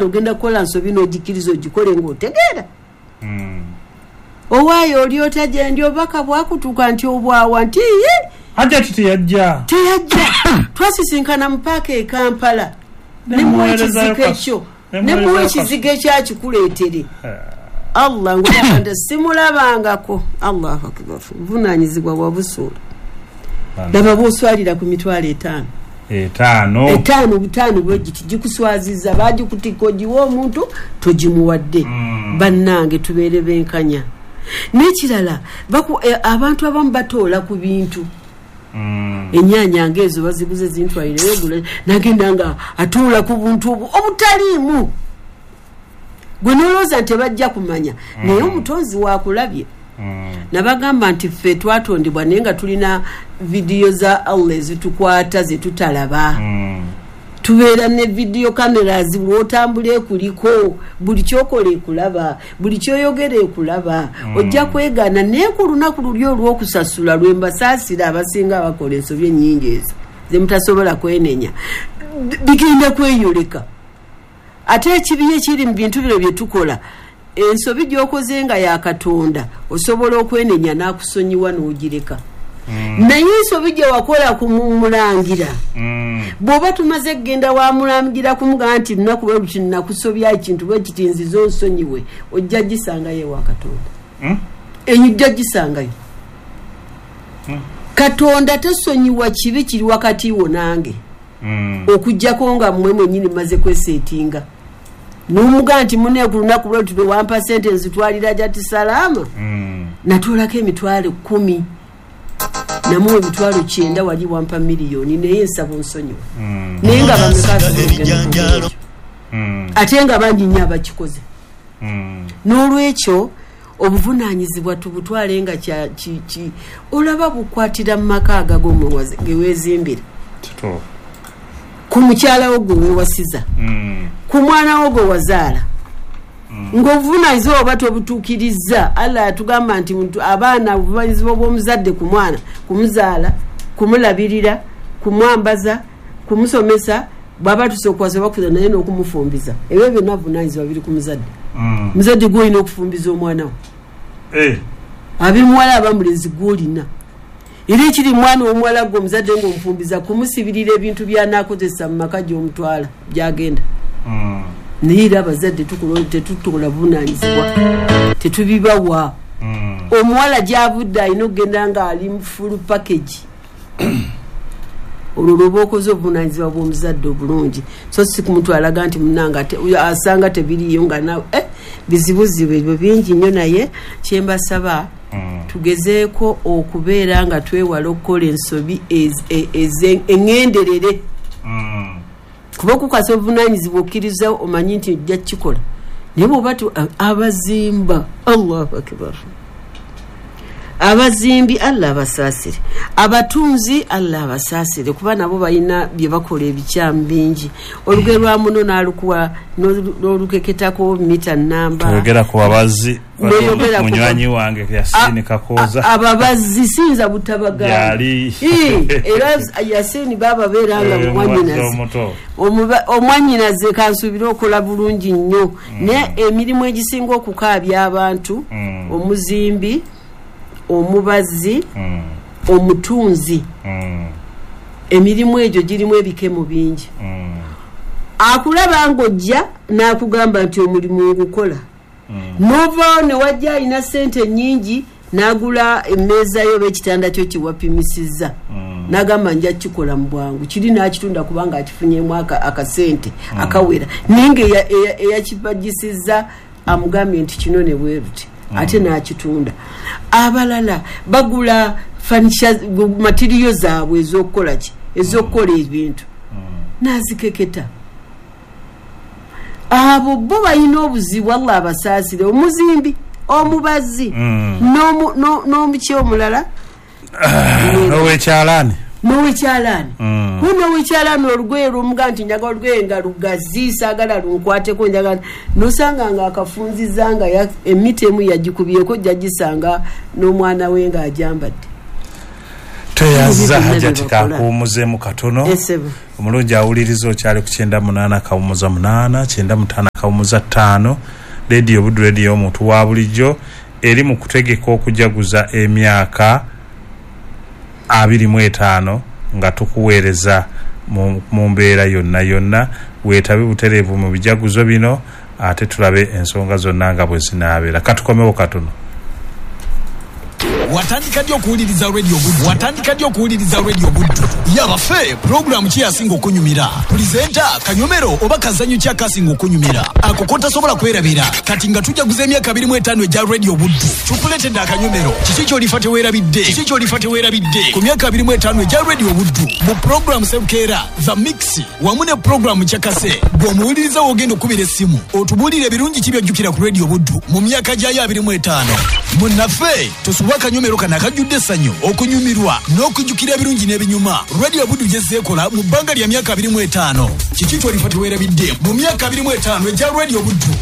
Ogenda kukola nsobi n'ogikiriza ogikole ng'otegeera. Owaayo oli otya gyendi obubaka bwakutuuka nti obwawa nti ye Hajjati teyajja. Teyajja. Twasisinkana mu paaka e Kampala, nemuwa ekizigo ekyo, nemuwa ekizigo ekyakikuleetere. Allah ngolabanda simulabangako. Allahu akbar, buvunaanyizibwa bwabusuula. Laba bwoswalira ku 500,000. 5. 5 butaano bwegiti gikuswaziza, bagikutikka ogiwa omuntu togimuwadde. Bannange tubeere benkanya. N'ekirala, abantu abamu batoola ku bintu. Ennyaanya ng'ezo baziguze zintwalireyo, nagenda nga atuula ku buntu obwo obutaliimu. Gwe nolowooza nti tebajja kumanya, naye omutonzi waakulabye. Nabagamba nti ffe twatondebwa naye nga tulina vidiyo za Allah ezitukwata zetutalaba. Tubeera ne vidiyo cameras, bw'otambula ekuliko, buli kyokola ekulaba, buli kyoyogera ekulaba. Ojja kwegaana, naye ku lunaku luli olw'okusasula lwe mbasaasira abasinga abakola ensobi ennyingi ezo ze mutasobola kwenenya, bigenda kweyoleka. Ate ekibi ekiri mu bintu bino bye tukola, ensobi gy'okoze nga ya Katonda osobola okwenenya n'akusonyiwa n'ogireka. Naye ensobi gye wakola ku mulangira, bw'oba tumaze kugenda wa mulangira kumugamba nti lunaku lwe luti nakusobya ekintu bwe kiti nzize onsonyiwe, ojja gisangayo ewa Katonda. Eyo ojja gisangayo. Katonda tasonyiwa kibi kiri wakati wo nange, okuggyako nga mmwe mwennyini mmaze kweseetinga. N'omugamba nti munne ku lunaku lwe luti lwe wampa ssente nzitwalira Jati Salaama, natuulako 10,000, namuwa 90,000, wali wampa 1,000,000, naye nsaba onsonyiwe. Naye nga bameka asobola, ate nga bangi nnyo abakikoze. N'olwekyo obuvunaanyizibwa tubutwale nga olaba bukwatira mu maka agago ge weezimbira, ku mukyala wo gwe weewasiza, ku mwana wo gwe wazaala. Ng'obuvunaanyizibwa oba tobutuukirizza, Allah yatugamba nti abaana obuvunaanyizibwa bw'omuzadde ku mwana, kumuzaala, kumulabirira, kumwambaza, kumusomesa, bw'aba atuuse okuwasa bakuza naye n'okumufumbiza. Ebyo byonna buvunaanyizibwa biri ku muzadde. Muzadde gw'olina okufumbiza omwana wo. Abimuwala aba mulenzi gw'olina. Era ekiri mwana omuwala gwe omuzadde ng'omufumbiza kumusibirira ebintu by'anaakozesa mu maka gy'omutwala gy'agenda. Naye era abazadde tetukola buvunaanyizibwa, tetubibawa. Omuwala gy'avudde alina okugenda ng'ali mu full package. Olwo lwoba okoze obuvunaanyizibwa bw'omuzadde obulungi, so si kumutwalaga nti munnange asanga tebiriiyo nga nawe bizibuzibu ebyo bingi nnyo. Naye kye mbasaba, tugezeeko okubeera nga twewala okukola ensobi eŋŋenderere. Kuba okukasa obuvunaanyizibwa okkiriza omanyi nti ojja kukikola, naye bw'oba abazimba, Allahu akbar, abazimbi Allah abasaasire, abatunzi Allah abasaasire, kuba nabo balina bye bakola ebikyamu bingi. Olugero lwa muno n'alukuwa n'olukeketako mita namba. Toyogera ku babazzi, munywanyi wange Yasini Kakooza. Ababazzi siyinza butabagamba. Era Yasini baaba beera nga mumwannyinaze. Omwannyinaze kansuubire okola bulungi nnyo, naye emirimu egisinga okukaabya abantu, omuzimbi, omubazzi, omutunzi, emirimu egyo girimu ebikemo bingi. Akulaba ng'ojja n'akugamba nti omulimu ngukola, n'ovaawo ne wajja alina ssente nnyingi n'agula emmeeza yo oba ekitanda kyo kyewapimisizza, n'agamba nja kukikola mu bwangu, kiri n'akitunda kubanga akifunyeemu akasente akawera, naye nga eyakibagisizza amugambye nti kino ne bwe luti, ate n'akitunda. Abalala bagula furniture matiriyo zaabwe ez'okukola ki, ez'okukola ebintu, n'azikeketa. Abo bo balina obuzibu, Allah abasaasire. Omuzimbi, omubazzi, n'omuki omulala, n'owekyalaani, n'owekyalaani. Kuno owekyalaani olugoye lwomuga nti njagala olugoye nga lugazi, saagala lunkwateko, njagala nosanga nga akafunziza nga emiti emu yagikubyeko, ojja gisanga n'omwana we ng'ajambadde. Tweyanziza Hajati, kakuwummuzeemu katono. Esebo. Omulungi awuliriza, okyali ku 98.8, 95.5, Rediyo Buddu, rediyo omuntu wa bulijjo, eri mu kutegeka okujaguza emyaka 25 nga tukuweereza mu mbeera yonna yonna. Weetabe butereevu mu bijaguzo bino, ate tulabe ensonga zonna nga bwe zinaabeera. Katukomewo katono. Watandika ddi okuwuliriza Radio Buddu? Watandika ddi okuwuliriza Radio Buddu? Yabaffe, pulogulaamu ki yasinga okunyumira? Presenter, kanyomero oba kazanyo ki akasinga okunyumira, ako kotasobola kwerabira? Kati nga tujaguza emyaka 25 egya Radio Buddu, tukuletedde akanyomero. Kiki kyolifa teweerabidde? Kiki kyolifa teweerabidde ku myaka 25 egya Radio Buddu? Mu pulogulaamu Sebukeera The Mix wamu ne pulogulaamu Kyakase, bw'omuwuliriza w'ogenda okubira essimu otubuulire ebirungi ki byojjukira ku Radio Buddu mu myaka gyayo 25. Munnaffe, tosubwa akanyomero kano akajjudde essanyu, okunyumirwa n'okujjukira ebirungi n'ebinyuma Radio Buddu gyezzeekola mu bbanga lya myaka 25. Kiki kyolifa teweerabidde mu myaka 25 egya Radio Buddu?